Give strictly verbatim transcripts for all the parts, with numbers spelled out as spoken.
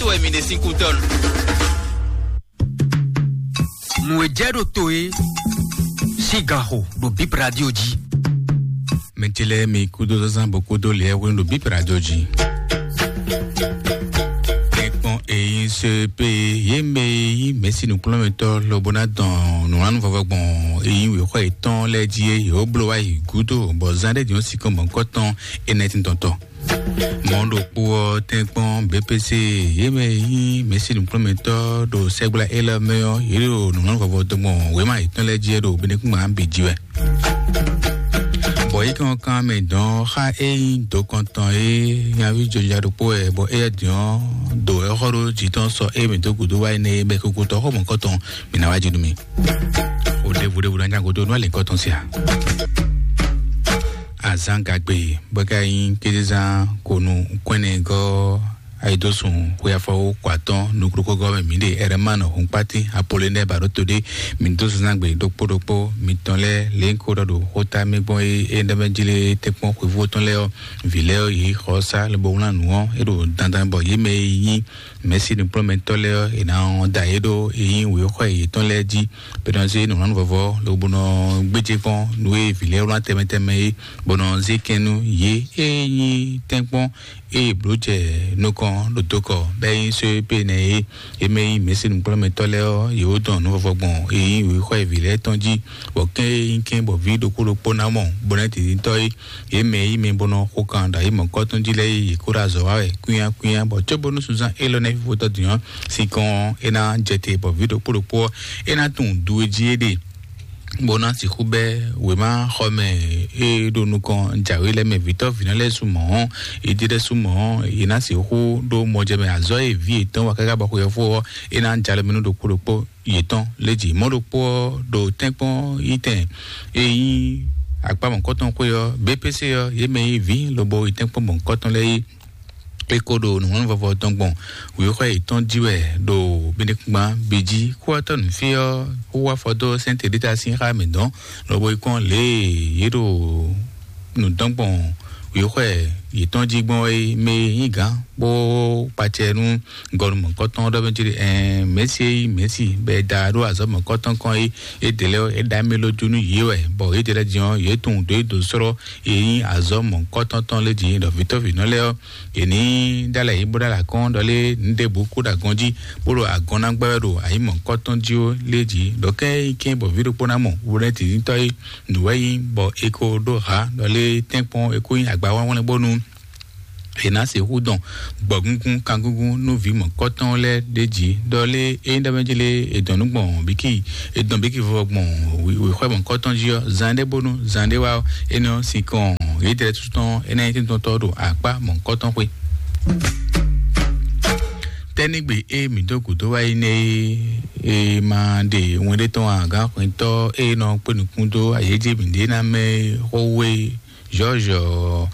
wɛ mi ɖe sín kútɔ́nu. Nǔ e jɛ ɖo to é sín ganxo ɖo Bip Radio jí. Mɛ ce lɛ́ɛ, mi kúdó zazán bó kúdó lɛ́ɛ hwenu ɖo Bip Radio jí. Tɛ́nkpɔ́n e nyí C P, yě mɛ e nyí mɛ̌si nǔkplɔ́nmɛtɔ́ lobo ná dɔn nǔwlánú vɔvɔ gbɔn e nyí wěxɔ yětɔn lɛ́ɛ jí é, yě wó bló wá yi gúdo, bɔ zán ɖé din ɔ́, sinkɔn mɔ̌hunkɔtɔn énɛ́ tíntɔ́ntɔ́. Mɔ̌ ɖokpó ɔ́, tɛ́nkpɔ́n B P C, yě mɛ e nyí mɛ̌si nǔkplɔ́nmɛtɔ́ ɖo sɛgbla élɔ́ mɛ ɔ́, yě ɖo nǔnywɛ́ vɔvɔ dɔn gbɔn wěma yětɔn lɛ́ɛ jí wɛ ɖo Benɛkúngban bǐ jí wɛ. Bɔ yě kàn kan mɛ dɔn xá é nyí dǒkɔntɔn e nyaví jɔjɔja ɖokpó wɛ, bɔ éyɛ́ din ɔ́ ɖo ɛxɔ́ ɖó jǐ tɔn sɔ é mɛ dó gǔdo wá énɛ́ é bɛ́ kúkútɔ́ xó mɔ̌kɔtɔn mǐ ná wá jí nú mì. O ɖěvo ɖěvo ná nya gúdo nú alǐkɔ tɔn sia. Azǎn gagbe bɔ é ka nyí kézezán ko nú kwɛ́nɛgɔ́ ayidósun xweyafɔwú kɔ atɔ́n nukúnukúgɔ́ mɛ mǐ ɖe Ɛrɛmánu Hunkpátín Apolinɛ́ɛ Baɖótodé. Mǐ dó zunzán gbe ɖokpó ɖokpó mitɔn lɛ́ɛ lě ko ɖɔ ɖo xóta mɛ gbɔn é é ɖɔ mɛ jí lé tɛ́nkpɔ́n xweyífó tɔn lɛ́ɛ ɔ́, vǐ lɛ́ɛ ɔ́, yě xɔ sá lobo wlán nǔ ɔ́, é ɖo dandan bɔ yě mɛ e nyí mɛ̌si nukplɔ́nmɛtɔ́ lɛ́ɛ ɔ́, è nǎ dó ayǐ ɖó e nyí wěxɔ yětɔn lɛ́ɛ jí. Bɔ nɔ zé nǔ nɔ vɔvɔ lobo nɔ gbéjé kpɔ́n nú e vǐ lɛ́ɛ wlán tɛnmɛ tɛnmɛ é, bɔ nɔ zé kɛn nú yě e nyí tɛ́nkpɔ́n eye blǒ jɛ nukɔn ɖo dokɔ bɔ é nyí só e pé nɛ é. É mɛ nyí mɛ̌si nukplɔ́nmɛtɔ́ lɛ́ɛ ɔ́, yě wó dɔn nǔ vɔvɔ gbɔn e nyí wěxɔ e vǐ lɛ́ɛ tɔn jí, bɔ kɛ́n e nyí kɛ́n bɔ vǐ ɖokpó ɖokpó ná mɔ bó ná titintɔ́ é. Yě mɛ e nyí mɛ bó nɔ xo kan ɖo ayǐ mɔ̌kɔ́ tɔn jí lɛ́ɛ é, yě kó ɖo azɔ̌ wa wɛ kwínyá kwínyá, bɔ cóbónú sunzán élɔ́ ná fífó tɔ́ din ɔ́, sin kɔn ɔ́, é ná jɛ te bɔ vǐ ɖokpó ɖokpó ɔ́, é ná tunwun do e jí é ɖe, bó ná sixú bɛ́ wěma xɔ mɛ e ɖo nukɔn jǎwe lɛ́ɛ mɛ vǐtɔ́ vǐnɔ lɛ́ɛ su mɔ̌ ɔ́, yědɛ́ lɛ́ɛ su mɔ̌ ɔ́, yě ná sixú ɖó mɔjɛmɛ azɔ̌ e vǐ yětɔn wa káká bɔ xweyɔ́fó ɔ́, é ná jɛ alɔ mɛ nú ɖokpó ɖokpó yětɔn lé jǐ. Mɔ̌ ɖokpó ɔ́, ɖo tɛ́nkpɔ́n yi tɛn e nyí akpá mɔ̌kɔ́tɔn xwé ɔ́, B P C ɔ́, yě mɛ e nyí vǐ lobo yi tɛ́nkpɔ́n mɔ̌kɔ́tɔn lɛ́ɛ é, é ko ɖo nǔhwɛ́nú vɔvɔ tɔn gbɔn wěxɔ yětɔn jí wɛ ɖo Benɛkúngban bǐ jí. Kúwatɔ́ nǔfí ɔ́, wú wá afɔ dó sɛ́nte ɖé ta sín xá mǐtɔn, lobo yi kpɔ́n lě e yě ɖo nǔ dɔn gbɔn wěxɔ yětɔn jí gbɔn é mɛ e nyí gǎn bó kpacɛ nú gɔnu mɔ̌kɔtɔn ɖɔ mɛ jí ɖe ɛɛ mɛ̌si e nyí mɛ̌si bɔ è da ɖó azɔ̌ mɔ̌kɔtɔn kɔn é. É ɖě lɛ́ɛ é ɖa mɛ ló jó nú yě wɛ, bɔ yě ɖě lɛ́ɛ din ɔ́, yě tunwun dó é dǒ slɔ́ e nyí azɔ̌ mɔ̌kɔtɔn tɔn lé jí ɖɔ vǐtɔ́vǐnɔ lɛ́ɛ ɔ́, è ní ɖó alɛ yě bó ɖó alɛ akɔ́n ɖɔ lé nǔ ɖěbǔ kú ɖo agɔn jí, bó ɖo agɔn ná gbɛ́ wɛ ɖo ayǐ mɔ̌kɔtɔn jí ó lé jí. Ɖɔ kɛ́n é nyí kɛ́n bɔ vǐ ɖokpó ná mɔ wlɛ́ntíntɔ́ é nǔ wɛ nyí, bɔ è ko ɖó hǎ ɖɔ lé tɛ́nkpɔ́n è ko nyí agba wlánwlɛ́n bónú è nǎ sixú dɔn gbɔ̌gúngún kangúngún nú vǐ mɔ̌kɔtɔn lɛ́ɛ ɖ'é jí ɖɔ lé é nyí ɖɔ mɛ jí lé è dɔn nǔ gbɔn bíkí è dɔn bíkí vɔvɔ gbɔn wěxɔ́ mɔ̌kɔtɔn jí ɔ́, zan ɖé bónú zan ɖé wá ɔ́, énɛ́ ɔ́, sin kɔn yědɛ́ tɔn énɛ́ nyí tɛ́ntɔ́tɔ́ ɖo akpá mɔ̌kɔtɔn xwé. Tɛ́nígbe e mǐ dó gǔdo wá yi nɛ́ é, e ma ɖe wɛn ɖé tɔn ǎ, gǎn xwɛntɔ́ e nɔ kpé nukún dó ayéjé mǐɖée ná mɛ xó wé Jɔ́ɔ́jɔ,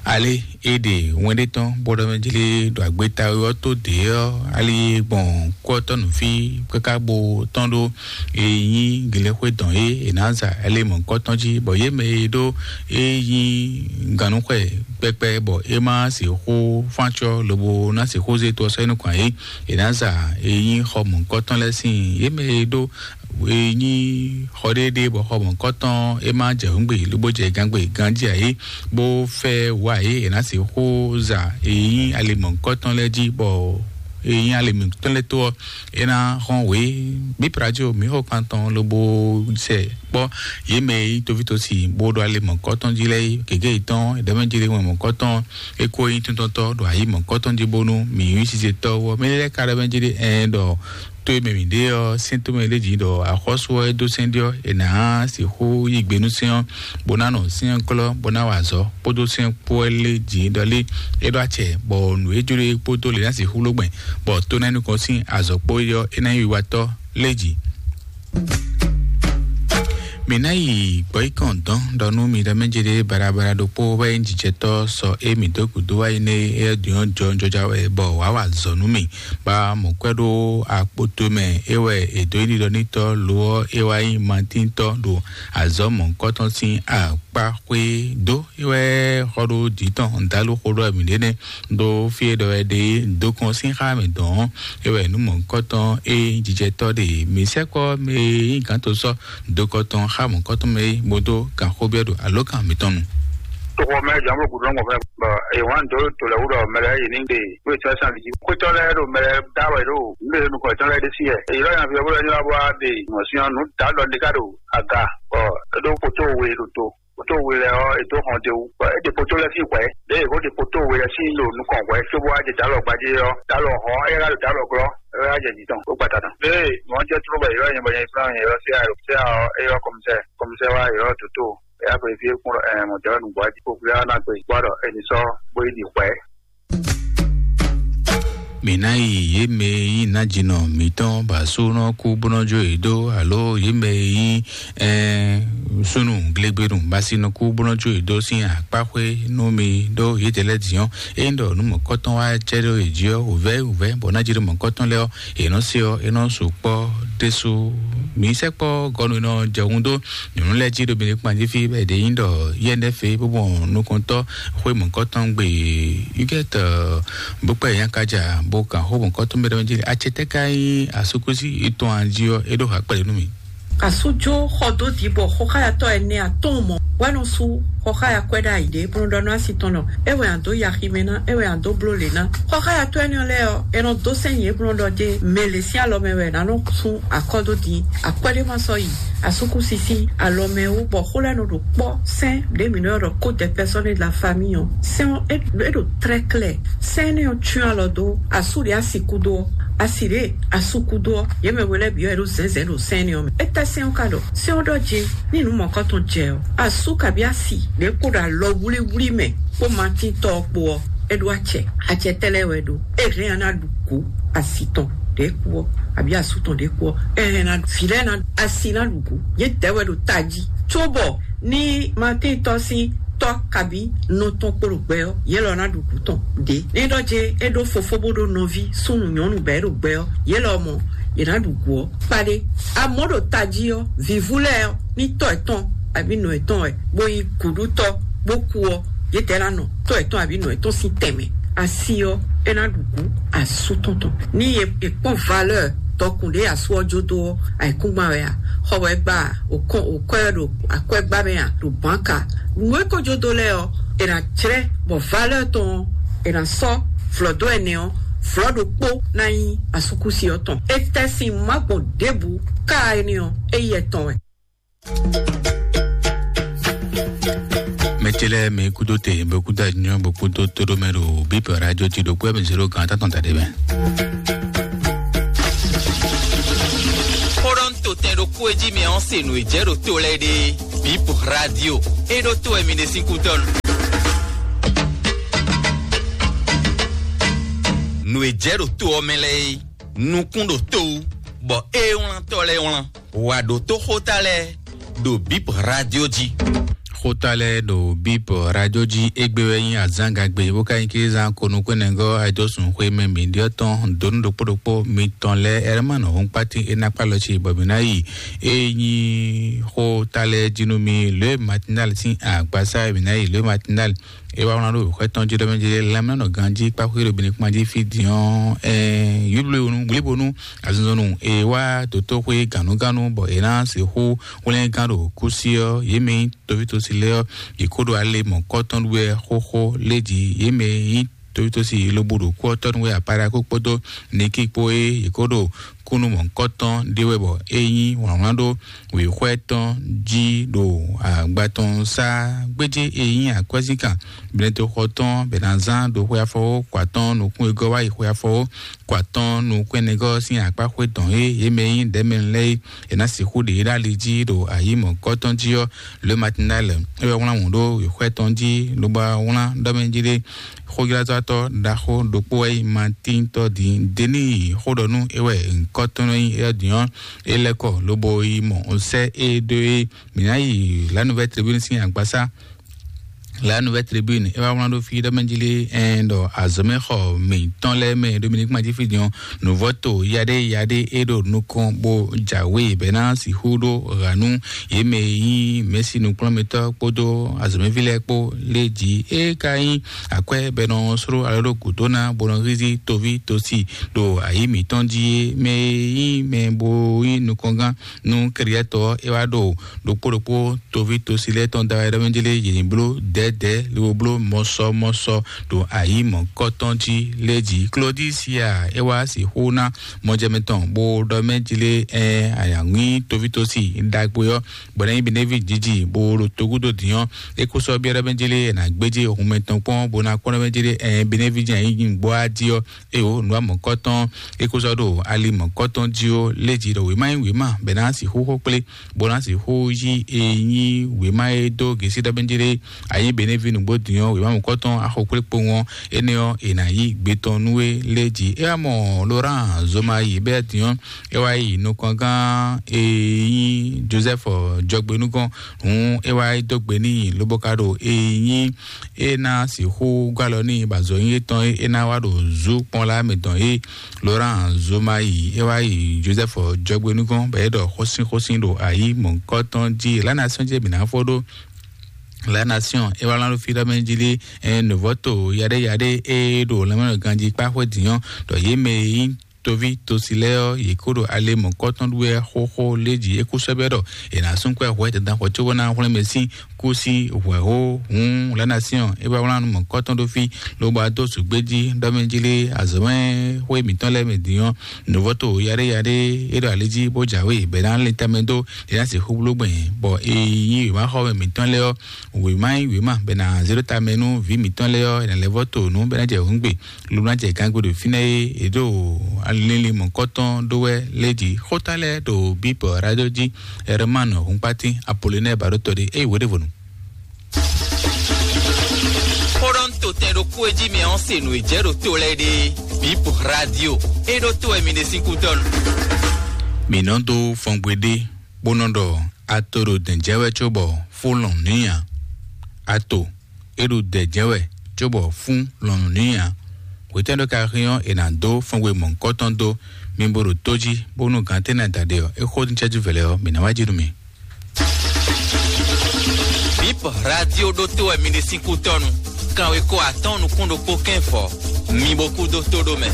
alé é ɖe wɛn ɖé tɔn bó ɖɔ mɛ jlé ɖo agbeta ɔ́ tó dě ɔ́, alí gbɔn kɔ́tɔ́ nǔfí káká bó tɔ́n ɖó e nyí gělɛ́xwé dɔn é è nǎ za alé mɔ̌kɔ́tɔn jí, bɔ yě mɛ e ɖó é nyí gannúxwɛ kpɛkpɛ bɔ é má sixú fáncɔ́ lobo ná sixú zé to ɔ́ sɔ́ é nukɔn ǎ é, è nǎ za e nyí xɔ mɔ̌kɔ́tɔn lɛ́ɛ sín yě mɛ e ɖó e nyí xɔ ɖéɖé bɔ xɔ mɔ̌kɔtɔn é má jɛ hǔngbe lobo jɛ gangbe ganjí ǎ é, bó fɛ wá é è nǎ sixú za e nyí ali mɔ̌kɔtɔn lɛ́ɛ jí bɔ e nyí ali mɔ̌kɔtɔn lɛ́ɛ tó ɔ́, é ná xɔ́n wě. Bípradio mǐ xɔ kpantɔn lobo sɛ kpɔ́ yě mɛ e nyí tovítɔ́si bó ɖo ali mɔ̌kɔtɔn jí lɛ́ɛ é, gěgé yětɔn è ɖɔ mɛ jí lé wɛn mɔ̌kɔtɔn é kó nyí tuntɔntɔ́ ɖo ayǐ mɔ̌kɔtɔn jí bónú mǐ nyí sizetɔ́ ɔ́. Mɛ lɛ́ɛ ka ɖɔ mɛ jí lé ɛn ɖɔ to e mɛ mǐ ɖe ɔ́, sɛ́n tomɛ lé jǐ ɖɔ axɔ́sú ɔ́ é dó sɛ́n ɖé ɔ́, è nǎ sixú yí gbe nú sɛ́n ɔ́, bó ná nɔ sɛ́n ɔ́ glɔ́, bó ná wa azɔ̌ kpódó sɛ́n kpó wɛ lé jǐ ɖɔ lé é ɖó acɛ, bɔ nǔ e jló é kpódó lě ná sixú ló gbɛn, bɔ to ná nukɔn sín azɔ̌ kpó é ɔ́, é ná nyí wiwatɔ́ lé jǐ. Mi ná yi gbɔ̌yikɔn dɔn ɖɔ nú mi ɖɔ mɛ jɛ ɖe barabara ɖokpó wɛ nyí jijɛtɔ́ sɔ e mi dó gǔdo wá yi nɛ e ɖiɔn jɔ jɔja wɛ bɔ wǎ wa zɔ nú mi. Ba mɔ̌ kwɛ ɖó akpoto mɛ e wɛ è dó yi ɖiɖɔ nítɔ́ lo ɔ́ e wá nyí matíntɔ́ ɖo azɔ̌ mɔ̌hunkɔtɔn sín akpá xwé dó e wɛ xɔ ɖó dǐ tɔn dǎlú xó ɖɔ mǐ ɖé nɛ́ ɖó fí e ɖɔ wɛ ɖe dó kɔn sín xá mɛ dɔn ɔ́, e wɛ nǔ mɔ̌hunkɔtɔn e jijɛtɔ́ ɖe mǐ sɛkpɔ́ mɛ e nyí gǎn to sɔ́ dokɔtɔn xá mɔ̌kɔtɔn mɛ é bó dó kan xó byɔ́ ɖo alǒkan mǐtɔn nu. Toxo mɛ jǎn bó gǔdo nɔ́ gbɔn fɛ́ bɔ è wǎn dó to lɛ́ɛ wú ɖɔ mɛ lɛ́ɛ yě ní ɖe kúwe tɔ́ sín ali jí. Xwétɔ́ lɛ́ɛ ɖo mɛ lɛ́ɛ dá wɛ ɖo nǔ ɖe nukɔn tɔn lɛ́ɛ ɖésú yɛ. Èyí lɔ nyaví ɔ́ bó lɛ́ ní wá bó wá ɖe mɔ̌ sín ɔ́, nǔ dǎ ɖɔ ní ká ɖo aga bɔ é ɖó kpótó we ɖo to. Kpótó we lɛ́ɛ ɔ́, è dó hɔn d'é wú bɔ é ɖe kpótó lɛ́ɛ sín hwɛ̌. Ɖěe è ko ɖe kpótó we lɛ́ɛ sín ɖo nukɔn hwɛ̌ cóbó wá jɛ dǎlɔ gbadé ɔ́, dǎlɔ hɔn ɔ́, é ká ɖo dǎlɔ glɔ́, é wá jɛ jǐ tɔn bó gba ta tɔn. Ɖěe mɔ̌ jɛ tló bɔ yě lɔ nyɛ bɔ nyɛ fúnra nyɛ ylɔ́ séa ylɔ́ séa ɔ́, é ylɔ́ kɔmísɛ́, kɔmísɛ́ wá ylɔ́ dǒtó, é wá xweyí fí é kún ɖɔ ɛ mɔ̌ jɛ wɛ nǔgbó wá jí kó gbéra ná gbe bó wá ɖɔ è nǐ sɔ́ bó yi ɖi hwɛ̌. Mǐ ná yi yě mɛ e nyí nǎjínɔ mǐtɔn ba sú nɔ kú bó nɔ jó yě dó, alo yě mɛ e nyí ɛɛ súnnu glégbénu ba sí nɔ kú bó nɔ jó yě dó sín akpáxwé nú mi ɖó yědɛɛ lɛ́ɛ din ɔ́, ényí ɖɔ nǔ mɔ̌kɔtɔn wá jɛ ɖó yě jí ɔ́, wǔvɛ́ wǔvɛ́ bɔ ná jí ɖó mɔ̌kɔtɔn lɛ́ɛ ɔ́, yě nɔ se ɔ́, é nɔ sukpɔ́ ɖésú. Mǐ sɛkpɔ́ gɔnu e nɔ jɛ hun dó nyɔ̌nu lɛ́ɛ jí ɖo Benin kpan jí fí bɔ è ɖě nyí ɖɔ yɛ ɖɛ́ fě bó mɔ nukɔntɔ́ xwé mɔ̌kɔtɔn gbe yúgɛ́tɔ bó kpɛ́ yě nyakája bó kan xó mɔ̌kɔtɔn mɛ ɖɔmɛ jí. Acɛtɛ́ ka nyí asúkúsi yětɔn a jí ɔ́, é ɖó ha kpɛɖé nú mì. Asújó xɔ dó dǐ bɔ xɔxáyatɔ́ ɛnɛ atɔ́ɔ́n mɔ hwɛ́ nɔ sú xɔxáya kwɛ́ ɖ'ayǐ ɖé bó nɔ ɖɔ nú asi tɔn ɖɔ é wɛ a dǒ yi aximɛ ná, é wɛ a dǒ bló lě ná. Xɔxáyatɔ́ énɛ́ lɛ́ɛ ɔ́, è nɔ dó sɛ́n nyě bó nɔ ɖɔ dé mɛ lě sín alɔ mɛ wɛ è nǎ nɔ sú akɔ́ dó din. Akwɛ́ ɖé ma sɔ́ yi, asúkúsi sín alɔ mɛ wú bɔ xó lɛ́ɛ nɔ ɖo kpɔ́ sɛ́n ɖě mǐ nɔ ylɔ́ ɖɔ code personnel de la famille ɔ́. Sɛ́n ɔ́ é é ɖo très clair. Sɛ́n énɛ́ ɔ́ cyɔ́n alɔ dó asú ɖě a sixú dó ɔ́, asi ɖě a sixú dó ɔ́, yě mɛ we lɛ́ɛ bǐ ɔ́, è ɖo zɛ̌nzɛ̌n ɖo sɛ́n énɛ́ ɔ́ mɛ. Étɛ́ sɛ́n ɔ́ ka ɖɔ? Sɛ́n ɔ́ ɖɔ jí ní nǔ mɔ̌kɔtɔn jɛ ɔ́, asú kabí asi ɖě kpo ɖo alɔ wlíwlí mɛ kpó matíntɔ́ ɔ́ kpó ɔ́, é ɖó acɛ. Acɛ tɛ́ lɛ́ɛ wɛ ɖó? É hɛn ɔ́ ná ɖu kǔ asi tɔn ɖě kú ɔ́, abǐ asú tɔn ɖě kú ɔ́, é hɛn ná vǐ lɛ́ɛ ná asi ná ɖu kǔ. Yě dɛ̌ wɛ ɖo tají, cóbɔ ní matíntɔ́ sín tɔ́ kabí nɔ tɔn kpo ɖo gbɛ ɔ́, yě lɔ ná ɖu kǔ tɔn ɖě. Ní ɖɔ jɛ é ɖó fofó bó ɖó nɔví súnnu nyɔ̌nu bɔ é ɖo gbɛ ɔ́, yě lɔ mɔ yě ná ɖu gǔ ɔ́ kpaɖé. Amɔ̌ ɖo tají ɔ́, vǐvú lɛ́ɛ ɔ́, ní tɔ́ yětɔn abǐ nɔ yětɔn wɛ, bó nyí gǔɖútɔ́ bó kú ɔ́, yědɛɛ ná nɔ tɔ́ yětɔn abǐ nɔ yětɔn sín tɛnmɛ. Asi ɔ́, é ná ɖu gǔ asú tɔn tɔn. Ní è è kpɔ́n valeur dɔkun ɖě asú ɔ́ jó dó ɔ́, ayǐkúngban wɛ a? Xɔ wɛ gba a? Òkɔn òkɔ́ ɛ ɖo akwɛ́gbá mɛ a? Ɖo bǎnka. Nǔ e ko jó dó lɛ́ɛ ɔ́, è nǎ jlɛ́ bɔ valeur tɔn ɔ́, è nǎ sɔ́ vlɔ̌ dó ɛnɛ ɔ́, vlɔ̌ ɖokpó ná nyí asúkúsi ɔ́ tɔn. Étɛ́ sín má gbɔn ɖěbǔ ká énɛ́ ɔ́, é yi ɛtɔn wɛ. Mɛtɛlɛ mɛ kudo te bɛ kudo anyɔ bɛ kudo todo mɛ ɖo bip radio ti ɖo kpɛ mɛ zero gan tatɔn ta ɖe mɛ. Xóɖɔ́ntotɛn ɖokpó e jí mɛ ɔ́ se nǔ e jɛ ɖo to lɛ́ɛ ɖe. Bip radio e ɖo to wɛ mi ɖe sín kútɔ́ nu. Nǔ e jɛ ɖo to ɔ́ mɛ lɛ́ɛ é, nukún ɖo to wú, bɔ é wlántɔ́ lɛ́ɛ wlán. Wǎ ɖótó xóta lɛ́ɛ ɖo bip radio jí. Xóta lɛ́ɛ ɖo bip radio jí égbé wɛ nyí azǎngagbe bó ka nyí kézán konukúnɛgɔ́ ayidɔ́sùn xwé mɛ mǐɖyɔ́ tɔn dǒnú ɖokpó ɖokpó mitɔn lɛ́ɛ ɛrɛmánɔ hɔnkpátín é ná kpá lɔ ci bɔ mǐ ná yi. É nyí xóta lɛ́ɛ jí nú mi lě matinal sín agbasá mǐ ná yi lě matinal. É wá wlán ɖó xwɛ tɔn jí ɖɔ mɛ jí lɛmlɛnɔ ganjí kpáxwé ɖo bini kpán jí fí diɔn ɛ yúblúyonu wlíbonu azinzɔnnu. É wá dǒtóxwé gǎnúgánú bɔ é ná sixú wlɛ́ngán ɖo kúsí ɔ́ yě mɛ nyí tovítɔ́si lɛ́ɛ ɔ́, yě kó ɖo ale mɔ̌kɔtɔn ɖu wɛ xóxó lé jí yě mɛ nyí tovítɔ́si lobo ɖo kú ɔ́ tɔ́ nu wɛ apáɖakú kpódó nikí kpó é yě kó ɖo kúnnu mɔ̌kɔtɔn ɖé wɛ bɔ é nyí wlǎnwlán ɖó wěxwɛ́ tɔn jí ɖo agba tɔn sá gbéjé e nyí akwɛ́zínkan blɛ́ntoxɔ tɔn bɛ̌nazán ɖo xwe afɔwó kɔ atɔn nukún e gɔ́ wá yi xwe afɔwó kɔ atɔn nukún ɛnɛgɔ́ sín akpá xwé tɔn e yě mɛ nyí ɖɛ̌mɛnu lɛ́ɛ é è nǎ sixú ɖe yě ɖó ali jí ɖo ayǐ mɔ̌kɔtɔn jí ɔ́. Le matinal é wɛ wlán wǔ ɖó wěxwɛ́ tɔn jí lobo wlán ɖɔ mɛ jí ɖé Xójlázɔ́tɔ́ ɖaxó ɖokpó wɛ nyí Matíntɔ́ din. Deni xó ɖɔ nú é wɛ ŋkɔ́ tɔn nɔ nyí éyɔ́ din ɔ́, é lɛ́ kɔ lobo yi mɔ sɛ́ é ɖó é. Mǐ ná yi La Nouvelle Tribune sín agbasá. La Nouvelle Tribune é wá wlán ɖó fí ɖɔ mɛ jí lé ɛn ɖɔ azɔ̌mɛxɔ mǐtɔn lɛ́ɛ mɛ Dominique Madjifi din ɔ́, nǔvɔ́to yaɖé yaɖé é ɖo nukɔn bó jǎwe bɛ́ ná sixú ɖó ha nú yě mɛ e nyí mɛ̌si nukplɔ́nmɛtɔ́ kpódó azɔ̌mɛví lɛ́ɛ kpó lé jí. É ka nyí akwɛ́ bɔ è nɔ sló alɔ ɖó gǔdo ná bó nɔ hízí toví tosi ɖo ayǐ mǐtɔn jí é. Mɛ e nyí mɛ bó nyí nukɔngán nú kɛɖyɛ́tɔ́ ɔ́, é wá ɖo ɖokpó ɖokpó toví tosi lɛ́ɛ tɔn da wɛ ɖɔ mɛ jí lé yě ní bló dɛ̌dɛ̌ lobo bló mɔsɔmɔsɔ ɖo ayǐ mɔ̌kɔtɔn jí lé jí. Klodisia é wá sixú ná mɔjɛmɛ tɔn bó ɖɔ mɛ jí lé ɛ ayǎŋwí toví tosi ɖagbe ɔ́ bɔ ná nyí Benevi jiji bó ɖo togúdo dǐn ɔ́, é kó sɔ́ byɔ́ ɖɔ mɛ jí lé ɛ nǎ gbéjé hun mɛtɔn kpɔ́n bó ná kpɔ́n ɖɔ mɛ jí lé ɛ Benevi jí ayǐ gbɔ á jí ɔ́, é o nǔ amɔ̌kɔ́tɔn é kó sɔ́ ɖo ali mɔ̌kɔ́tɔn jí ó lé jí ɖɔ wěma nyí wěma bɛ́ ná sixú xó kplé bó ná sixú yí e nyí wěma e dó gěsí ɖɔ mɛ jí lé ayé Benevi nǔgbó dǐn ɔ́, wěma mɔ̌kɔ́tɔn axɔkplé kpowun ɔ́, énɛ́ ɔ́, è nǎ yí gbe tɔn nú we lé jí. É wá mɔ Laurent Zoma yi bɛ́ dǐn ɔ́, é wá yi nukɔngán e nyí Joseph Jɔgbenúgɔn, hǔn é wá yi dó gbe n'i lobo ka ɖo e nyí é ná sixú gɔ́ alɔ n'i bɔ azɔ̌ nyí étɔn é ná wá ɖo zú kpɔ́n lá mɛ dɔn é. Laurent Zoma yi é wá yi Joseph Jɔgbenúgɔn bɔ é ɖɔ xósínxósín ɖo ayí mɔ̌kɔ́tɔn jí. La Nation jí mǐ ná fó ɖó. La Nation é wá lán ɖo fí ɖɔ mɛ jí lé ɛ nǔvɔ́to yaɖé yaɖé é ɖo lɛmɛnɔ ganjí kpá xwé dǐn ɔ́ ɖɔ yě mɛ e nyí toví tosi lɛ́ɛ ɔ́, yě kó ɖo ale mɔ̌kɔ́tɔn ɖu wɛ xóxó lé jí é kú sɛ́ bɛ́ ɖɔ è nǎ sú kwɛ́ hwɛ dandan xɔ cóbó ná hwlɛ́n mɛ sín kú sí hwɛ̌ hó. Hǔn La Nation é wá wlán nú mɔ̌kɔ́tɔn ɖó fí lobo wá dó zǔgbé jí ɖɔ mɛ jí lé azɔ̌mɛ xwé mǐtɔn lɛ́ɛ mɛ din ɔ́, nǔvɔ́to yaɖé yaɖé é ɖo ali jí bó jǎwe bɛ́ ná lin tamɛ dó é ná sixú bló gbɛn bɔ é nyí wěmaxɔmɛ mǐtɔn lɛ́ɛ ɔ́, wěma nyí wěma bɛ́ ná zé ɖó tamɛ nú vǐ mǐtɔn lɛ́ɛ ɔ́, è nǎ lɛ́ vɔ́ to nǔ bɛ́ ná jɛ hǔngbe. Lobɔ ná jɛ gǎngbe ɖo fínɛ́ é, è ɖo linlin mɔ̌kɔ́tɔn ɖó wɛ lé jí. Xóta lɛ́ɛ ɖo Bíbɔ Radio jí, Herman Hunkpatín Apollinaire Baɖótɔ́ ɖé, é yi wǒ ɖěvo nu. Xó ɖɔ un to tɛn ɖokpó e jí mi ɔ́ se nǔ e jɛ ɖo to lɛ́ɛ ɖe. Bíbɔ Radio, é ɖó to wɛ mi ɖe sín kútɔ́nu. Mǐ nɔ dó fɔngbe ɖé, bó nɔ ɖɔ ato ɖo dɛ̌n jɛ wɛ cóbɔ fún lɔn nǔ nyi ǎ. Ato é ɖo dɛ̌ jɛ wɛ cóbɔ fún lɔn nǔ nyi ǎ. Hwetɛ́ ɖo ka hɛn ɔ́, è nǎ dó fɔngbe mɔ̌hunkɔtɔn dó mi bó ɖo tó jí, bónú gǎn tɛ́ ná da ɖe ɔ́, é xó ní cɛ́jú vɛ̌lɛ́ ɔ́, mǐ ná wá jí nú mi. Bip Radio ɖótó wɛ mi ɖe sín kútɔ́nu. Kanwekó atɔ́ɔ́n nukún ɖokpó kɛ́nfɔ, mi bo kú dó tó ɖó mɛ.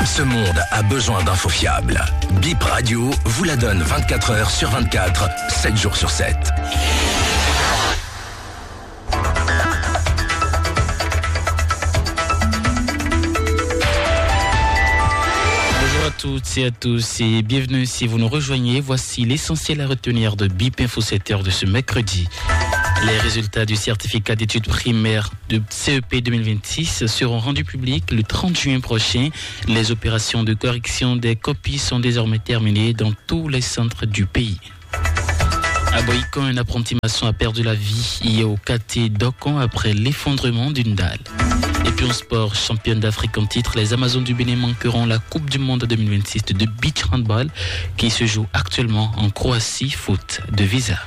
Ce monde a besoin d'infos fiables. Bip Radio vous la donne vingt-quatre heures sur vingt-quatre, sept jours sur sept. Bonjour à toutes et à tous et bienvenue si vous nous rejoignez. Voici l'essentiel à retenir de Bip Info sept heures de ce mercredi. Les résultats du certificat d'études primaires de C E P deux mille vingt-six seront rendus publics le trente juin prochain. Les opérations de correction des copies sont désormais terminées dans tous les centres du pays. À Boïcon, un apprenti maçon a perdu la vie hier au quartier d'Okan après l'effondrement d'une dalle. Et puis en sport, championne d'Afrique en titre, les Amazones du Bénin manqueront la Coupe du Monde deux mille vingt-six de beach handball qui se joue actuellement en Croatie faute de visa.